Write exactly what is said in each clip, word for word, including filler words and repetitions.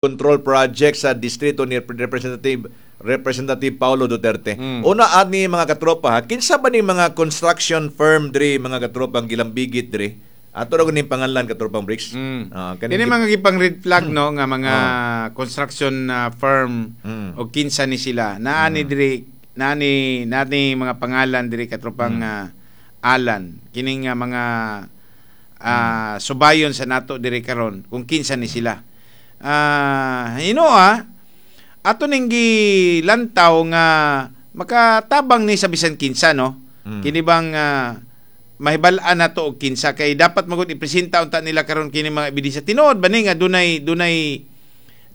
Control project sa distrito ni Representative Representative Paulo Duterte. Mm. Una ani, mga katropa ha, kinsa ba ni mga construction firm diri, mga katropa, ang gilambigit diri? Ato ra ning pangalan, katropang Bricks. Mm. Ah, kaning Kini mga gipang red flag, no, nga mga construction uh, firm Mm. o kinsa ni sila. Naa ni diri, naa ni naa ni mga pangalan diri, katropang Mm. uh, Alan. Kining nga mga ah, subayon sa nato diri karon kung kinsa ni sila. Ah, hino ah ato ning gilantaw nga makatabang ni sa bisan kinsa, no. Mm. Kini bang ah, mahibal-an nato og kinsa kay dapat magud ipresenta unta nila karon kini mga ebidensya. Tinuod ba ni nga dunay dunay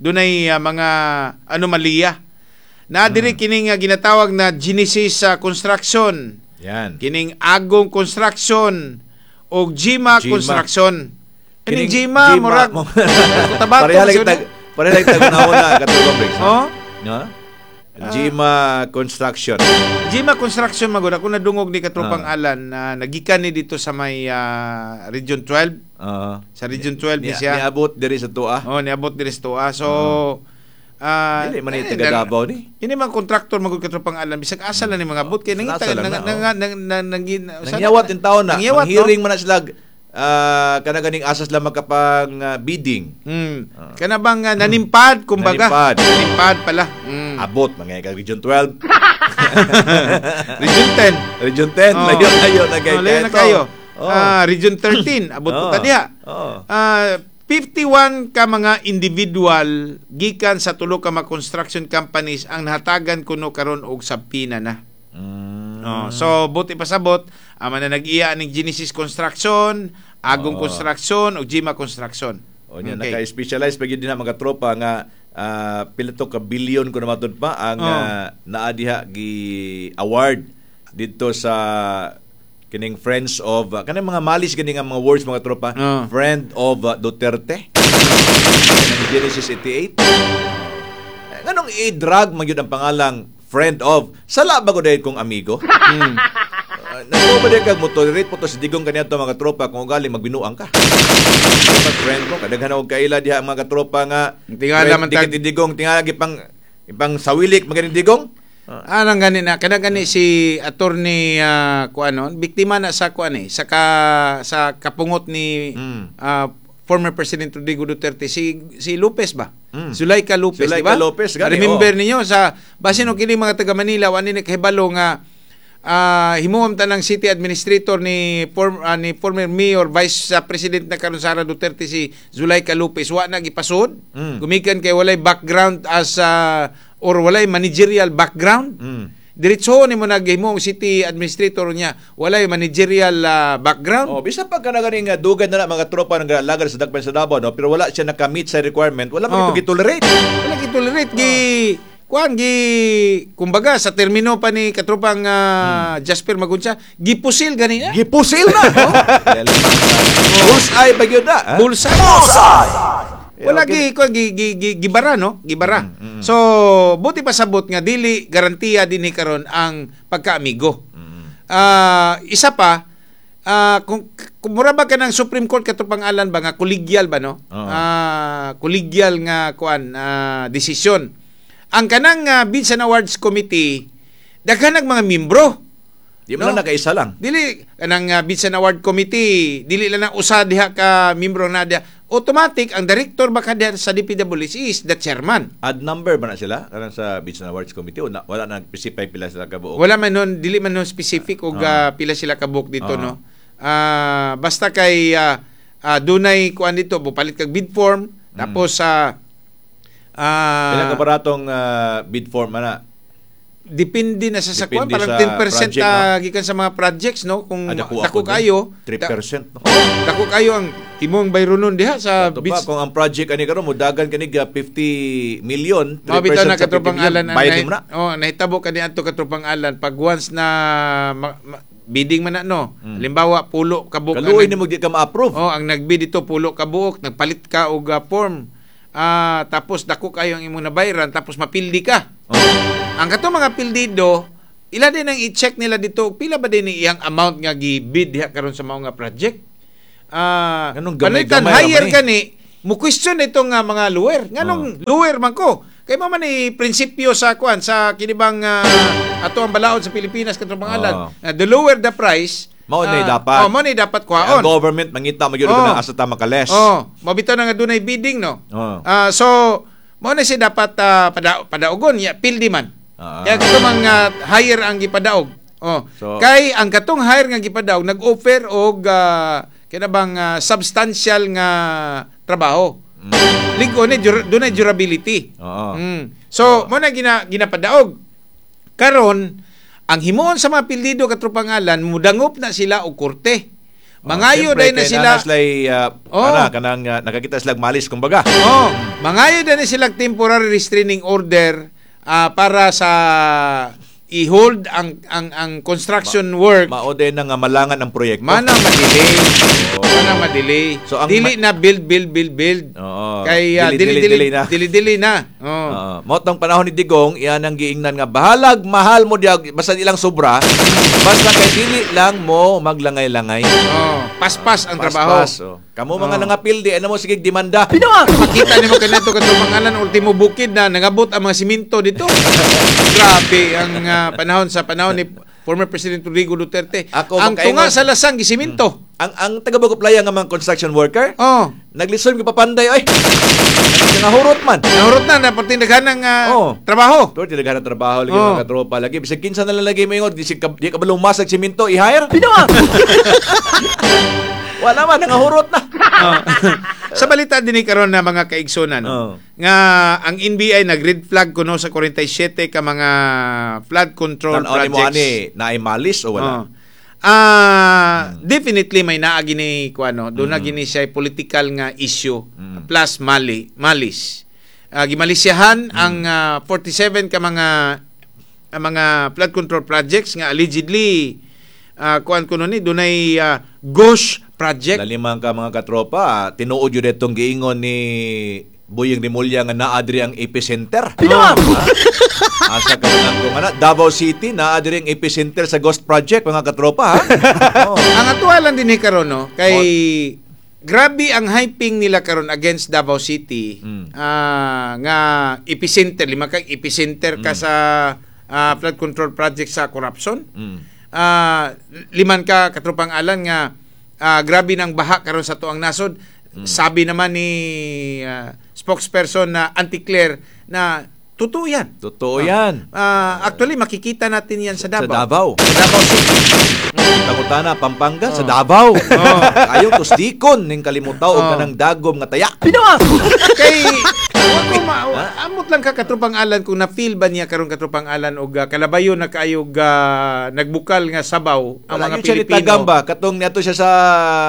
dunay ah, mga anomalya na diri, kini nga ginatawag na Genesis sa Construction, Yan. kining Agong Construction og Gima, Gima. Construction. Kining Gima, murag Cotabato. Pareha lang siguro. tag pareha lang tag una, katropang Bricks. Oh? No? Gima Construction. Gima Construction magud ako nadungog ni katropang Ah. Alan na nagikan ni dito sa may ah, Region twelve, Ah. sa Region twelve ni Ni, siya. niabot diri sa tuwa. Oh, niabot diri sa tuwa. So ah Dili man ni eh, taga Davao ni. Kini mga kontraktor magud, katropang Alan, bisag asa lang ni mga abot kay nangita Asa lang nang na, oh. nang nang nang Nangyawat in taon na. Nangyawat, no? Hearing man na sila ah kana ganing asas lang makapang ah, bidding. Mm. Ah. Kana bang ah, nanimpad kumbaga? Nanimpad. Nanimpad pala. Mm. Abot mga ka Region twelve, Region ten. Region ten, Oh. layo layo na kay Oh, layo na kayo. Oh. Ah, Region thirteen, abot po Oh. ta diha. Oh. Ah, fifty-one ka mga individual gikan sa tulo ka mga construction companies ang nahatagan kuno karon og subpoena na. Mm. Oh, so buti pasabot ama na nag-iya ning Genesis Construction, Agong Oh. Construction ug Gima Construction. O niya, Okay. naka-specialize pa gyud din na mga tropa nga ah, pila to ka billion ko na matud pa ang Oh. ah, naa diha gi award didto sa kining Friends of uh, kanang mga malis gani nga mga words, mga tropa, Oh. Friend of ah, Duterte. Kanang Genesis eighty-eight. Eh, nganong i-drag man gyud ang pangalang Friend of? Sala ba ko dahil kung amigo? Mm. Uh, Nagpo ba kag mo tolerate po to si Digong kaniadto, mga tropa, kung ugali magbinuang ka? Dapat friend mo, kadaghan og kaila diha ang mga katropa nga Tingala friend man tag- dikit ni Digong, tingala gipang ipang sawilik maganing Digong. Anong gani na kana gani si Attorney uh, kuanon, biktima na sa kuan eh, sa ka, sa kapungot ni Mm. ah, former President Rodrigo Duterte, si si Lopez ba? Mm. Zuleika Lopez, Zuleika di ba? Lopez, gani, Remember oh. ninyo sa basin og kini mga taga Manila wa ni nakahibalo nga ah himuom tanang city administrator ni form, ah, ni former mayor, vice sa president na karon Sara Duterte, si Zuleika Lopez, wa na gipasod Mm. gumikan kay walay background as ah, or walay managerial background. Mm. Diretso ni mo naghimo ang city administrator niya, walay managerial ah, background. Oh, bisa pa kana ganing uh, dugay na na mga tropa nang lagad sa Dakpan sa Davao, no, pero wala siya nakamit sa requirement, wala man Oh. ito gitolerate. Wala gitolerate, gi kuan gi kumbaga sa termino pa ni katropang ah, Jasper Magunsa, gipusil gani na. Gipusil na. Oh. Bullseye ba gyud na? Ha? Bullseye. Eh, Wala okay. gi kuan gi, gi, gi gibara, no? Gibara. Mm, mm. So buti pa sabot nga dili garantiya dinhi karon ang pagkaamigo. Mm. Ah, isa pa, ah, kung, kung mura ba ka ng Supreme Court, katropang Alan ba, nga collegial ba, no? Oo. Ah, collegial nga kuan ah, desisyon. Ang kanang ah, Bids and Awards Committee, daghan nag mga membro. Di man No? lang nakaisa lang. Dili kanang uh, Bids and Award Committee, dili lang na usa diha ka membro na diha. Automatic ang director ba ka diha sa D P W H is the chairman. Add number ba na sila kanang sa Bids and Awards Committee o na, wala na specify pila sila kabuok? Wala man nun, dili man nun specific og ah, pila sila kabuok dito, Ah. no. Ah, basta kay ah, ah, dunay kuan dito, bupalit kag bid form tapos sa ah, Pila ka baratong ah, bid form ana? Depende na sa sa kuan, Depende parang sa ten percent project, ah, gikan sa mga projects, no, kung Ah, dako dako ako din. kayo. three percent, no? Oh, dako kayo ang imong bayronon diha sa Ato pa, bids. kung ang project ani karon modagan kanig ah, fifty million, Mga three percent bitaw na sa fifty katropang million, Alan ang bayad nahi- mo na. Oh, nahitabo kani adto, katropang Alan, pag once na ma- ma- bidding man na, no. Mm. Halimbawa pulo ka buok ang Kaluoy nag- nimo di ka ma-approve. Oh, ang nagbid dito pulo ka buok, nagpalit ka og ah, form. Ah, tapos dako kayo ang imong nabayran, tapos mapildi ka. Oh. Ang kato mga pildido, ila din ang i-check nila dito, pila ba din iyang amount nga gi-bid diha karon sa mao nga project? Ah, Anong palitan gamay-gamay higher ra man eh. kani. Mo question itong uh, mga lawyer. Nganong lawyer man ko? Kay mao man ni prinsipyo sa kuan sa kinibang uh, ato ang balaod sa Pilipinas, katong pangalan. Oh. Uh, the lower the price, Mao na ah, dapat. Oh, mao na dapat Ang kuhaon. government mangita magyud Oh. oh. asa ta makales. Oh, mabitaw na nga dunay bidding, no. Oh. Ah, so mao na siya dapat ah, pada padaugon ya pildi man. Ah. Kaya katong mga hire ang gipadaog. Oh. So- Kay ang katong hire nga gipadaog nag-offer og uh, kina bang ah, substantial nga trabaho. Ligo ni dur- dunay durability. Mm. Oo. Mm. So, mo na gina, ginapadaog. Karon, ang himuon sa mga pildido, katropang Alan, mudangop na sila og korte. Mangayo Oh, siyempre, day na kay sila. naa sila'y, uh, Oh. kana, kanang uh, nakakita sila malis kumbaga. Oh, mangayo day na sila temporary restraining order ah, para sa i-hold ang ang ang construction work. Mao din na nga malangan ang proyekto. Mana madelay. Oo. Mana madelay. So, ang Dili ma- na build, build, build, build. Oo. Kay ah, Dili, dili dili, dili dili na. dili dili na. Oh. Oo. Mao tong panahon ni Digong, iyan ang giingnan nga bahalag mahal mo diya basta ilang sobra, basta kay dili lang mo maglangay-langay. Oh, paspas ang trabaho. Paspas, oh. Kamo mga Oo. nangapildi, ano mo sige demanda. Makita nimo kanito katong pangalan, ultimo bukid na nangabot ang mga simento dito. Grabe ang ah, panahon sa panahon ni former President Rodrigo Duterte. Ako, ang makaingon. tunga sa lasang gisimento. Ang ang taga Bagoplaya nga mga construction worker, Oh. naglisod ko papanday oy. Nangahurot man. Nahurot na na pertindaghan ng ah, Oh. trabaho. Tuwar tinaghan ng trabaho lagi Oh. mga katropa lagi bisag kinsa na lang lagi moingon di si ka, di ka ba lumasag simento i-hire? Wala man, nangahurot na. Oh. Sa balita din ni karon na mga kaigsunan, no, Oh. nga ang N B I nag red flag kuno sa forty-seven ka mga flood control Tan-aw ni mo projects. ani, naay malis o wala? Oh. Ah, definitely may naa gini kuano, doon na gini siya political nga issue Mm. plus mali, malis. Ah, gimalisyahan ang ah, forty-seven ka mga ang mga flood control projects nga allegedly uh, kuan kuno ni dunay ah, ghost project. Laliman ka mga katropa, tinuod yun itong giingon ni Boyeng Remulla nga naa diri ang epicenter. Oh. Asa ka lang kung ano, Davao City, naa diri ang epicenter sa Ghost Project, mga katropa, ha? Oh. Ang atuwa lang din ni karon, no, kay grabe ang hyping nila karon against Davao City. Mm. Ah, nga epicenter, lima ka epicenter ka sa ah, flood control project sa corruption. Mm. Ah, liman ka katropang Alan nga ah, grabe ng baha karon sa tuang nasod. Sabi naman ni ah, spokesperson na Anti-Claire na totoo yan. Totoo yan. Ah, actually makikita natin yan sa Sa Davao. Davao. Sa Davao City. Tangutana, Pampanga, sa Davao. Ayaw tusdikon ning kalimutaw og Oh. kanang dagom nga taya. Kay wa ko ma amot lang ka, katropang Alan, kung na-feel ba niya karon, katropang Alan, og ah, kalabayo na kaayog ah, nagbukal nga sabaw ang Wala mga yun siya ni Pilipino. Tagam ba? Katong niadto siya sa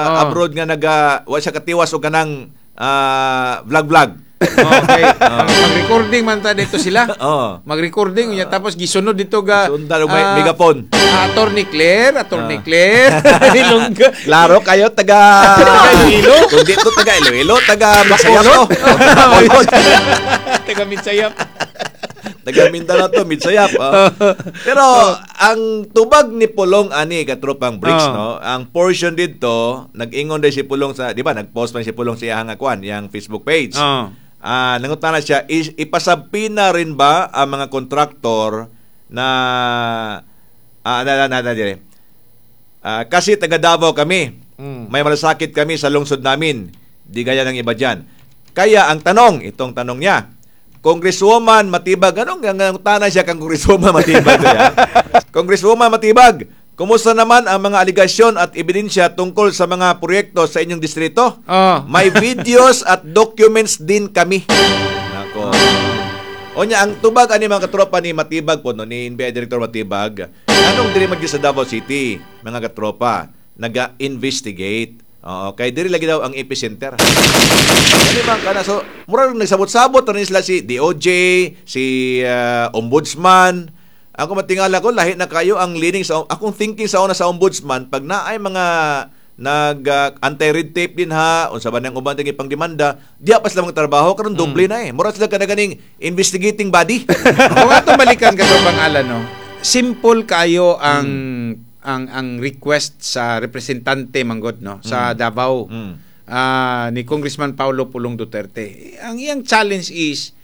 Oh. abroad nga naga wa siya katiwas og kanang ah, vlog-vlog. Okay. Mag- Mag-recording man ta dito sila. Oh. Mag-recording unya tapos gisunod dito ga Sundan og may ah, megaphone. ah, Attorney Claire, Attorney Ah. Claire. Ilonggo. Klaro kayo taga Taga Iloilo? Kung dito taga Iloilo, taga Bisaya to. Bacolod. Taga Mitsayap. Taga Mindanao to, Midsayap. Oh. Pero ang tubag ni Pulong ani, katropang Bricks, Oh. no, ang portion dito, nag-ingon din si Pulong sa, di ba, nag-post man si Pulong sa iyang kuan, iyang Facebook page. Oh. Ah, nangutana siya, is, ipasabpina rin ba ang mga kontraktor na ah, na, na, na, na, dire. Ah, kasi taga Davao kami. Mm. May malasakit kami sa lungsod namin. Di gaya ng iba dyan. Kaya ang tanong, itong tanong niya, Congresswoman Matibag, anong nangutana siya kang Congresswoman Matibag? Kaya? Congresswoman Matibag, kumusta naman ang mga aligasyon at ebidensya tungkol sa mga proyekto sa inyong distrito? Oh. May videos at documents din kami. Nako. Onya, ang tubag ani mga katropa ni Matibag po, no, ni N B I Director Matibag, anong diri magdi sa Davao City, mga katropa, naga-investigate. Oo, kay diri lagi daw ang epicenter. Ano man kana, so mura rin nagsabot-sabot rin sila si D O J, si ah, Ombudsman. Ako matingala ko lahi na kayo ang leaning sa akong thinking sa una sa Ombudsman pag naay mga nag ah, anti-red tape din ha unsa ba nang uban tingin pang demanda diya pa sila mga trabaho karon, doble na eh, mura sila kada ganing investigating body. Kung atong balikan, katropang Alan, no. Simple kayo ang ang ang request sa representante manggod, no, sa Davao. Mm. ah, ni Congressman Paulo Pulong Duterte. Ang iyang challenge is